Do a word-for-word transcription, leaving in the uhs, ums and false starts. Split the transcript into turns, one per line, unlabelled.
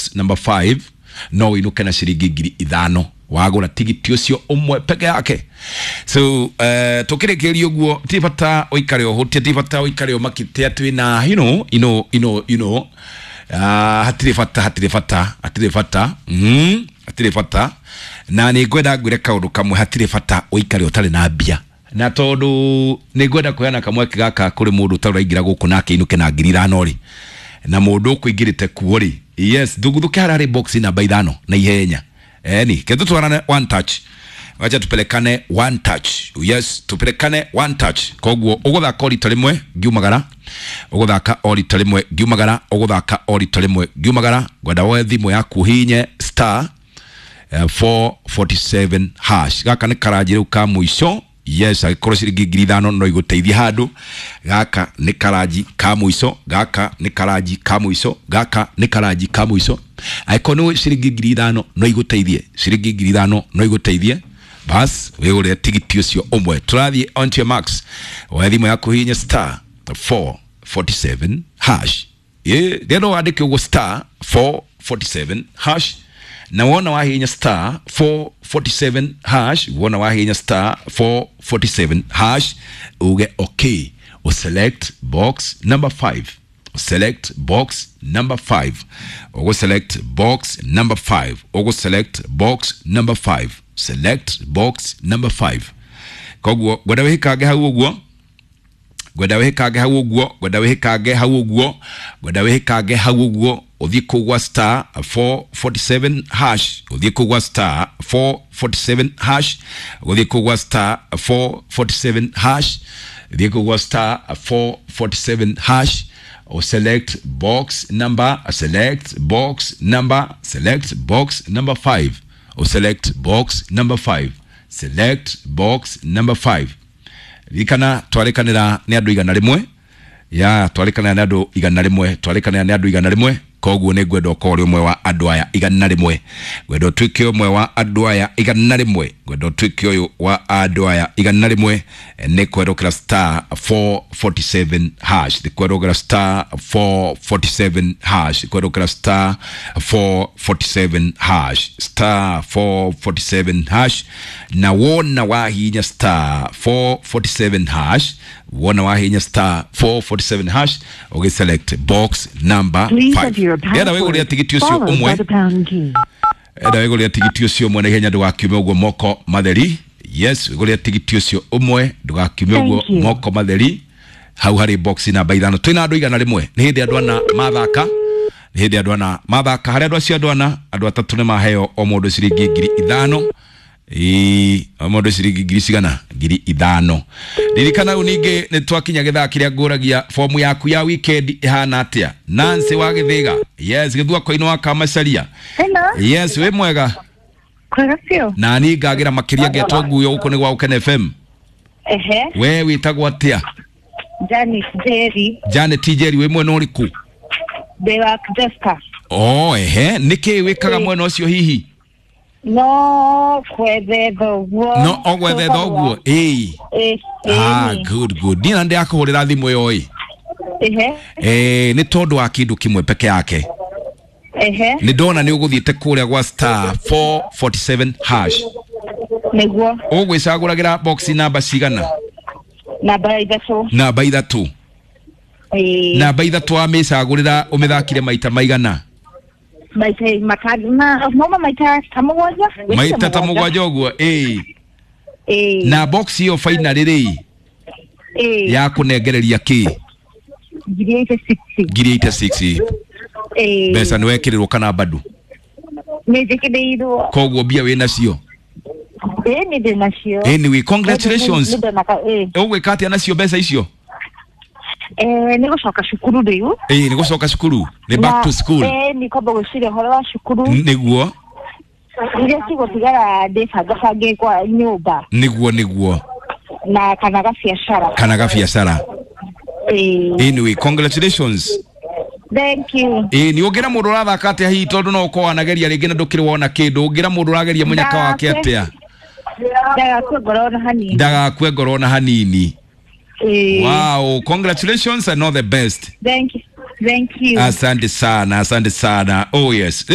box number five no wĩinũke na ciringi ngiri ithano wagũra tigiti ũcio ũmwe peke yake. So uh, tũkĩrĩkĩrĩria ũguo, ti bata ũikare ũhũtie, ti bata ũikare ũmakĩte atĩ wĩna you know, you know, you know, you know. Uh, hatirĩ bata, hatirĩ bata, hatirĩ bata, mm, hatirĩ bata. Na nĩ ngwenda ngwĩre kaũndũ kamwe, hatirĩ bata ũikare ũtarĩ na mbia, na tondũ nĩ ngwenda kũheana kamweke gaka kũrĩ mũndũ ũtarĩ ũraingĩra gũkũ nake ainũke na ngiri ithano rĩ, na mũndũ ũkũingĩrĩte kuo rĩ, yes, thuguthuke harĩa harĩ box namba ithano na ihenya. Eni kethu twarane one touch, wacha tupelekane one touch, yes, tupelekane one touch. Koguo ũgũthaka o rita rĩmwe ngiumagara, ũgũthaka o rita rĩmwe ngiumagara, ũgũthaka o rita rĩmwe ngiumagara. Ngwenda woe thimũ yaku ũhihinye star eh, four forty-seven hash. Gaka nĩ karanji rĩu ka mũico. Yes, angĩkorwo ciringi ngiri ithano no igũteithie handũ, gaka nĩ karanji ka mũico, gaka nĩ karanji ka mũico, gaka nĩ karanji ka mũico. Angĩkorwo nĩ ciringi ngiri ithano no igũteithie, ciringi ngiri ithano no igũteithie, bas wĩgũrĩre tigiti ũcio ũmwe. Tũrathiĩ on to your max, woe thimũ yaku hihinya star four forty-seven hash. Ĩ rĩrĩa no wandĩke ũguo star four forty-seven hash, na wona wahihinya star four forty-seven hash, wona wahihinya star four forty-seven hash, uge okay, uselect box number five, select box number five, ugo select box number five, ugo select box number five, select box number five. Koguo ngwenda wĩhĩkange hau ũguo, ngwenda wĩhĩkange hau ũguo, ngwenda wĩhĩkange hau ũguo, ngwenda wĩhĩkange hau ũguo, ũthiĩ kũu gwa star four forty-seven hash, ũthiĩ kũu gwa star four forty-seven hash, ũthiĩ kũu gwa star four forty-seven hash, ũthiĩ kũu gwa star four forty-seven hash, or select box number, select box number, select box number five, or select box number five, select box number five. Ririkana twarĩkanĩra nĩ andũ igana rĩmwe, ya twarĩkanĩra nĩ andũ igana rĩmwe, twarĩkanĩra nĩ andũ igana rĩmwe. Koguo nĩ ngwenda ũkorwo ũrĩ ũmwe wa andũ aya igana rĩmwe, ngwenda ũtuĩke ũmwe wa andũ aya igana rĩmwe, ngwenda ũtuĩke ũyũ wa andũ aya igana rĩmwe. Nĩ kwerũkĩra star four forty-seven hash, nĩ kwerũkĩra star four forty-seven hash, nĩ kwerũkĩra star four forty-seven hash, star four forty-seven hash. Na wona wahihinya star four forty-seven hash, wona wahihinya star four forty-seven hash, ũgĩselect box number
Please
five.
enter your
Ndĩrenda wĩgũrĩre
password
tigiti ũcio
followed
ũmwe
by the pound key.
Enda wĩgũrĩre tigiti ũcio ũmwe na ihenya, ndũgakiume ũguo moko matheri. Yes, wĩgũrĩre tigiti ũcio ũmwe, ndũgakiume ũguo
Thank you.
moko matheri. Hau harĩ box namba ithano twĩna andũ igana rĩmwe. Nĩ hĩndĩ andũ ana mathaka, nĩ hĩndĩ andũ ana mathaka. Harĩ andũ acio andũ ana, andũ atatũ nĩ maheo o mũndũ ciringi ngiri ithano. Ĩĩ, o mũndũ ciringi ngiri cigana? Ngiri ithano. Ririkana rĩu ningĩ nĩ twakinya gĩthaa kĩrĩa ngũragia fomu yaku ya weekend ĩhana atĩa. Nancy wa Gĩthĩga, yes, Gĩthua-koinĩ wa Kamacaria.
Hello.
Yes, wĩ mwega?
Kwega biũ.
Na niĩ ngagĩra makĩria ngetwo nguyo gũkũ nĩ gwa Gũkena F M.
Ehe.
We wĩtagwo atĩa?
Janet Jerry.
Janet Njeri, wĩ mwena ũrĩkũ?
Ndĩ wa Jessica.
Oh, ehe, nĩkĩ wĩkaga mwena ũcio hihi?
No kwethetha ũguo.
No ogwethetha ũguo ĩĩ?
Ĩĩ.
Ah, good, good. Niĩ na ndĩrakũhũrĩra thimũ ĩyo ĩ
Ehe.
eh, nĩ tondũ wa kĩndũ kĩmwe peke yake.
Ehe.
Nĩ ndona nĩ ũgũthiĩte kũrĩa gwa star four forty-seven hash.
Nĩguo.
Ũgwĩcagũragĩra box namba cigana?
Namba ithatũ.
Namba ithatũ.
Ĩĩ.
Namba ithatũ wamĩcagũrĩra, ũmĩthakire maita maigana?
Maita matano ma mauma maita ta mũgwanja.
Maita ta mũgwanja ũguo, ĩĩ?
Ĩĩ.
Na box ĩyo finally rĩ,
Ĩĩ.
yakũnengereria kĩ?
Ngiri eighty six.
Ngiri eighty-six.
Ĩĩ.
Mbeca nĩ wekĩrĩrwo kana bado?
Nĩ njĩkĩrĩirwo.
Koguo mbia wĩ nacio?
Ĩĩ, nĩ ndĩ nacio.
Anyway, congratulations.
Nĩ ndonaka ĩĩ.
Ũgwĩka atĩa nacio mbeca icio?
Eh, nĩ gũcoka cukuru rĩu.
Ĩĩ, nĩ gũcoka cukuru, nĩ back to school.
Ĩĩ, nĩ kwamba gwĩciria ũhoro wa cukuru.
Nĩguo.
Iria cigũtigara ndĩbangabange kwa nyũmba.
Nĩguo, nĩguo.
Na kana gabiacara.
Kana gabiacara.
Ĩĩ.
Anyway, congratulations.
Thank you.
Ĩĩ, nĩ ũngĩra mũndũ ũrathaka atĩa hihi, tondũ no ũkorwo wanageria rĩngĩ na ndũkĩrĩ wona kĩndũ, ũngĩra mũndũ ũrageria mũnyaka wake atĩa?
Ndagakue ngoro ona hanini.
Ndagakue ngoro ona hanini.
Ĩĩ.
Wow, congratulations and all the best.
Thank you, thank you.
Asante sana, asante sana. Oh yes.